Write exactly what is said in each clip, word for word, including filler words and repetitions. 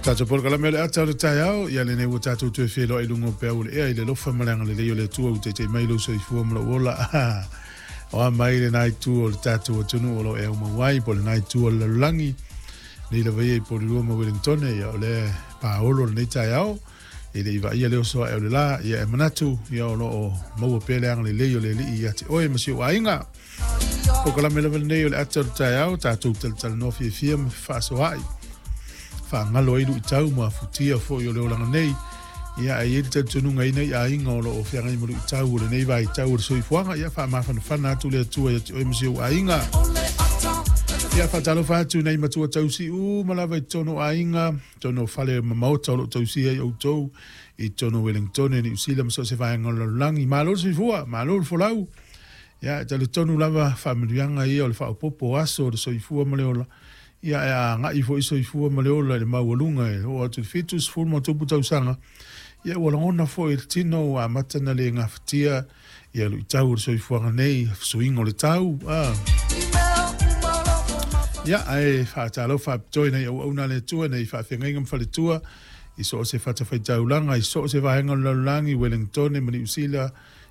Tatou polokalame o le ata o le taeao, ia lenei ua tatou toe feiloai i luga o peau o le ea i le alofa ma le agalelei o le Atua ua taita'i mai lou soifua ma lou ola. O a mai lena itu o le tatou atunuu o lo o e aumau ai, po o lena itu o le lalolagi, nei lava ia i Porirua ma Wellingtone, ia o lea paolo lenei taeao, e le i vaaia le oso ae o le la, ia e manatu, ia o lo o maua pea le agalelei o le Alii ia te oe ma si ou aiga. Polokalame lava lenei o le ata o le taeao, tatou talatalanoa fiafia ma fefaasoaai, faagalo ai luitau ma afutia foi o le olaga nei. Ia ae i ai le talitonuga i nai aiga o lo o feagai ma luitau o lenei vaitau o le soifuaga, ia faamafanafana atu le Atua ia te oe ma si ou aiga. Ia faatalofa atu nei matua tausi uma lava i totonu o aiga, totonu o fale ma maota o lo o tausia ai outou i totonu o Wellingtone, Niu Sila ma so o se vaega o le lalolagi. Malo le soifua, malo le folau. Ia e talitonu lava faamanuiaga ia o le faaopoopo o aso o le soifua ma le ola. Ia e agai foi soifua ma le ola i le maualuga e oo atu i le fitusefulu ma tupu tausaga. Ia ua lagona foi i le tino ua amata ona le gafatia ia luitau o le soifuaga nei, fesuiga o le tau. Ah. Ia, ae faatalofa faapitoa i nai auauna a le Atua, nei faafeagaiga ma faletua, i so o se fatafaitaulaga, i so o se vaega o le lalolagi, Wellingtone ma Niu Sila.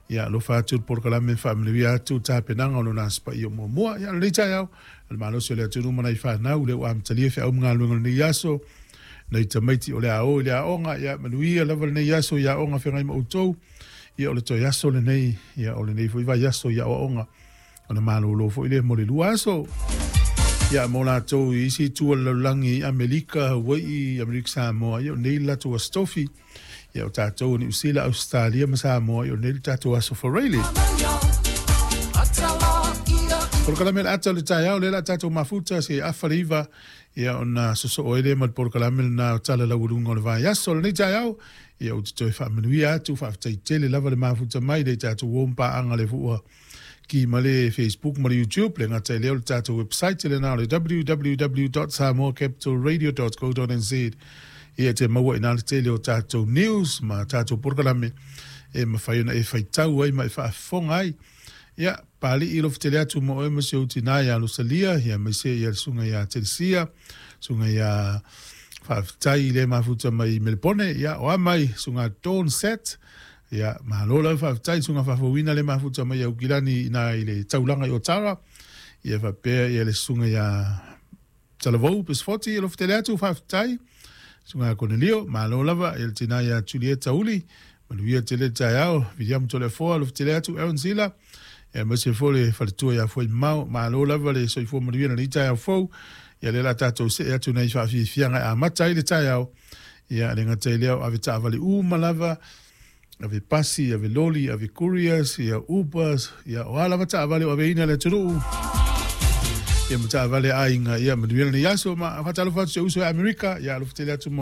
Ia alofa atu le polokalame, faamanuia atu le tapenaga o lona Aso Paia muamua. Ia, lenei taeao, o le malosi o le atunuu ma nai fanau, lea ua amatalia feau ma galuega o lenei aso, nai tamaiti o le a o i le aoga, ia manuia lava lenei aso i aoga feagai ma outou. Ia o le toe aso lenei, ia o lenei foi vaiaso i aoaoga, ona malolo foi lea mo le lua aso. Ia mo latou i isi itu o le lalolagi, i Amerika, Hawaii, Amerika Samoa, ia o nei le latou aso tofi. Ia o tatou o Niu Sila, Ausetalia ma Samoa, ia o nei le tatou aso Faraile. Polokalame o le ata o le taeao, lea o le a tatou mafuta se afa le iva, ia ona sosoo ai lea ma le polokalame lena o Tala Laualuga o le Vaiaso. O lenei taeao, ia ou te toe faamanuia atu, faafetai tele lava le mafuta mai le tatou uo ma paaga le fua ki ma le Facebook ma le YouTube, le gata i lea o le tatou website lena o le w w w dot samoa capital radio dot co dot n z. Ia te maua i nā le tele o tatou news ma tatou polokalame e mafai ona e faitau ai ma e faafofoga ai. Ia, Pali'i alofa tele atu mo oe ma si ou tinā iā Losalia, ia aemaise ia le susuga iā Telesia, susuga iā Faafetai i le mafuta mai i Melepone, ia o a mai susuga Dawn Set, ia malo lava faafetai susuga faafouina le mafuta mai Aukilani ina i le taulaga i Otara, ia faapea ia le susuga iā Talavou Pesfoti, alofa tele atu faafetai, susuga Konelio, malo lava ia le tinā iā Julieta Uli, manuia tele le taeao, Viliamu Toleafoa, alofa tele atu, Aaron Zila, ia aemaise foi le faletua iā Fuaimamao, malo lava le soifua manuia lenei taeao fou. Ia lea o le a tatou see atu nei faafiafiaga e amata ai le taeao. Ia le gata i lea o ave taavale uma lava, ave pasi, ave loli, ave couriers, ia Ubers, ia o a lava taavale o aveina le atunuu. Ia ma taavale aiga, ia manuia lenei aso ma faatalofa atu si ou uso i Amerika, ia alofa tele atu mo